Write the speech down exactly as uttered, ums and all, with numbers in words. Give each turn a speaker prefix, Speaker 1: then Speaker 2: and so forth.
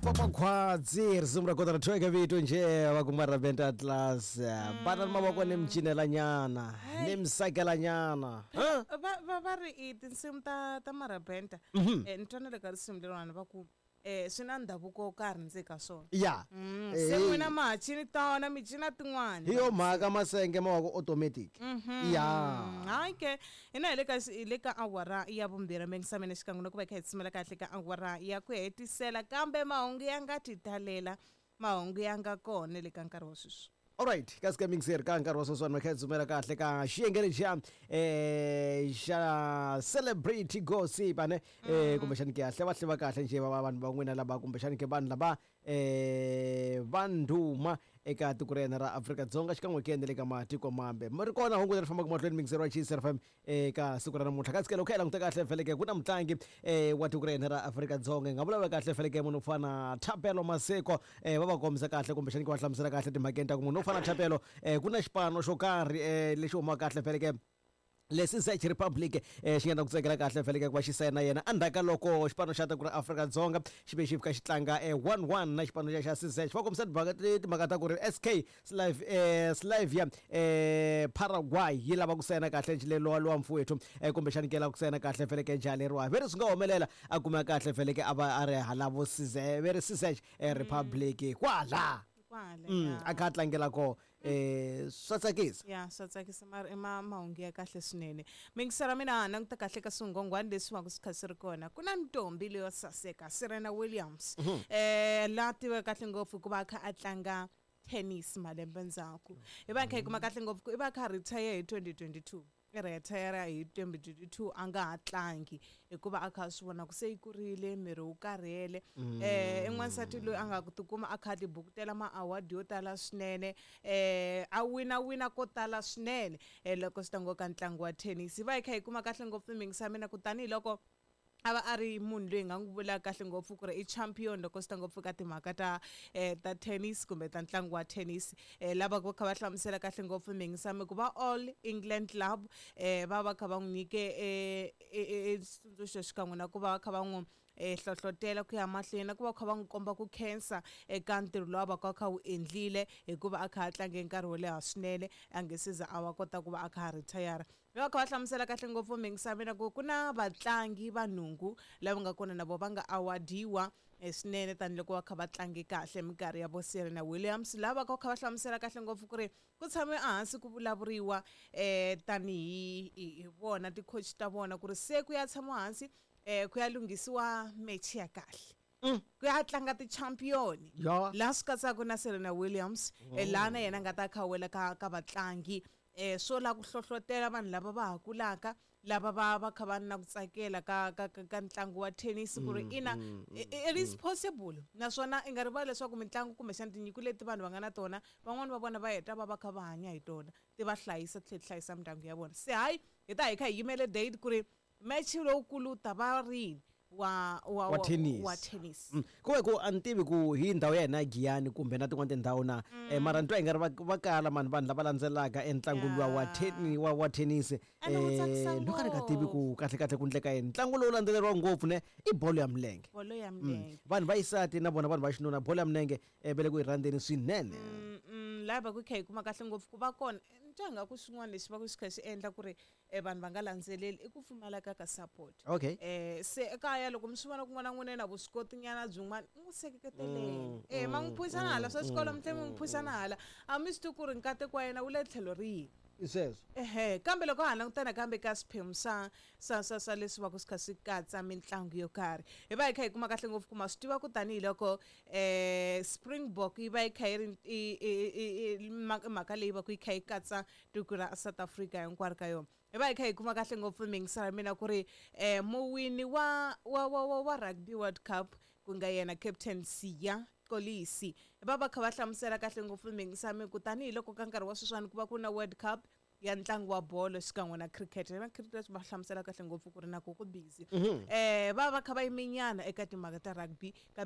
Speaker 1: Papa Khwadzi risimu ra kota ra thweka vito nje va kuma ra Benta Atlas bana mavoko ni micinela nyana ni misakela nyana.
Speaker 2: Va va va ri i tinsimu ta ta marabenta eh ni twana le ka risimu leriwani va ku eh swi na ndhavuko wo karhi ndzi ka swona.
Speaker 1: Ya
Speaker 2: se n'wina ma ha cini tona mi cina tin'wana
Speaker 1: hi yo mhaka masenge ma wa ku automatic. Ya
Speaker 2: hayi ke hina hi le ka hi le ka awara ya vumbirhi mingisameni xikan'we na ku va hi kha hi tshimela kahle ka awara ya ku hetisela kambe mahungu ya nga ti talela mahungu ya nga kona le ka nkarhi wa sweswi.
Speaker 1: Alright, kasi ka mixer ka nkarhi wa sweswiwani makha hi dzumela kahle ka xiyenge lexiya eh xa celebrity gossip ane eh kumbexani ke ya hleva hleva kahle nje va vanhu va n'wina lava kumbexani ke vanhu lava eh va ndhuma eka tiko ra hina ra Afrika-Dzonga xikan'we ke na le ka matiko mambe. Mi ri kona hungu leri fambaka mahlweni mixer wa Chiefs F M eka siku ra namuntlha. Kasi ke loko hi languta kahle feleke ku na mutlangi eh wa tiko ra hina ra Afrika-Dzonga hi nga vulavula kahle feleke munhu wo fana Thapelo Maseko eh va va kombisa kahle kumbexani ke va hlamusela kahle timhakeni ta ku munhu wo fana Thapelo eh ku na xipano xo karhi eh lexi humaka kahle feleke lesi Czech Republic eh xi nga na ku tsakela kahle feleke ku va xi sayina yena endzhaku ka loko xipano xa tiko ra Afrika-Dzonga xi ve xi fika xi tlanga eh one one na xipano xa xa Czech. Va kombisa timhaka timhaka ta ku ri S K Slav eh Slavia eh Paraguay yi lava ku sayina kahle njhe lowa lowa mfowethu eh kumbexani ke lava ku sayina kahle feleke njhani leriwa ve ri swi nga humelela a kuma kahle feleke a va a ri halavo Czech ve ri Czech Republic kwala
Speaker 2: kwala
Speaker 1: a kha a tlangela ko eh swa tsakisa.
Speaker 2: Ya swa tsakisa mara i ma mahungu ya kahle swinene. Mingisera mina languta kahle ka swinghongwani leswi va ku swi kha swi ri kona ku na ntombi leyo saseka Serena Williams eh la tiveka kahle ngopfu hikuva a kha a tlanga tennis malembe ndzhaku hi va kha hi kuma kahle ngopfu ku i va kha retire hi twenty twenty-two i retire hi twenty twenty-two a nga ha tlangi hikuva a kha swi vona ku se yi kurile miri wu karhele eh i n'wansati loyi a nga ku tikuma a kha tibukutela ma-award yo tala swinene eh a wina wina ko tala swinene eh loko swi ta ngo ka ntlangu wa tennis. Hi va hi kha hi kuma kahle ngopfu mingisa mina ku tanihiloko a va a ri munhu loyi hi nga n'wi vulaka kahle ngopfu ku ri i champion loko swi ta ngopfu ka timhaka ta eh ta tennis kumbe ta ntlangu wa tennis eh lava va kha va hlamusela kahle ngopfu mingisami ku va All England Club eh va va kha va n'wi nyike eh xitsundzuxo xikan'we na ku va va kha va n'wi eh hlohlotela ku ya mahlweni na ku va kha va n'wi komba ku khensa eka ntirho lowu va ka kha wu endlile hikuva a kha a tlange nkarhi wo leha swinene a nge se za a wa kota ku va a kha a retire. Va kha va hlamusela kahle ngopfu mingisami na ku ku na vatlangi va nhungu lava nga kona na vo va nga awadiwa swinene tanihiloko va kha va tlange kahle minkarhi ya vo Serena Williams lava va kha va hlamusela kahle ngopfu ku ri ku tshame ehansi ku vulavuriwa eh tanihi hi vona ti-coach ta vona ku ri se ku ya tshamiwa hansi eh ku ya lunghisiwa match ya kahle ku ya tlanga ti-champion laha swi katsaka na Serena Williams laha na yena a nga ta kha wela ka ka vatlangi eh swo la ku hlohlotela vanhu lava va ha kulaka lava va va kha va na ku tsakela ka ka ka ntlangu wa tennis ku ri ina it is possible naswona i nga rivali leswaku mitlangu kumbexana tinyiko leti vanhu va nga na tona van'wani va vona va heta va va kha va hanya hi tona ti va hlayisa ti tlhela ti hlayisa mindyangu ya vona. Se hayi hi ta hi kha hi yimele date ku ri match lowukulu ta va rini wa wa
Speaker 1: wa tennis
Speaker 2: wa tennis
Speaker 1: ku ve ku a ni tivi ku hi ndhawu ya hina ya Giyani kumbe na tin'wana tindhawu na eh mara ni twa hi nga ri va va kala mani vanhu lava landzelaka entlangu luwa wa tennis wa wa tennis eh no ka ni nga tivi ku kahle kahle ku ndleka yini ntlangu lowu landzeleriwa ngopfu ne i bolo ya milenge
Speaker 2: bolo ya milenge
Speaker 1: vanhu va xisati na vona vanhu va xinuna bolo ya milenge va le ku yi rhandzeni swinene.
Speaker 2: Laha va ku kha hi kuma kahle ngopfu ku va kona ni twa ingaku xin'wana lexi va ku xi kha xi endla ku ri vanhu va nga landzeleli i ku pfumaleka ka support.
Speaker 1: Okay
Speaker 2: eh se ekaya loko mi swi vona ku n'wana n'wina na vuswikoti nyana byin'wana n'wi seketeleni eh ma n'wi phusana hala swa xikolo mi tlhela mi n'wi phusana hala a mi swi tivi ku ri nkateko wa yena wu le tlhelo rihi
Speaker 1: i sweswo
Speaker 2: ehe kambe loko ha langutana kambe ka swiphemu swa swa swa swa leswi va ku swi kha swi katsa mitlangu yo karhi hi va hi kha hi kuma kahle ngopfu ku ma swi tiva ku tanihiloko eh Springbok yi va yi kha yi ri i mhaka leyi va ku yi kha yi katsa tiko ra South Africa hinkwaro ka yona hi va hi kha hi kuma kahle ngopfu mingisela mina ku ri eh muwini wa wa wa wa Rugby World Cup ku nga yena Captain Siya Kolisi va va kha va hlamusela kahle ngopfu mingisami ku tanihiloko ka nkarhi wa sweswiwani ku va ku na World Cup ya ntlangu wa bolo xikan'we na cricket na cricket va hlamusela kahle ngopfu ku ri na ku ku busy eh va va kha va yiminyana eka timhaka ta rugby.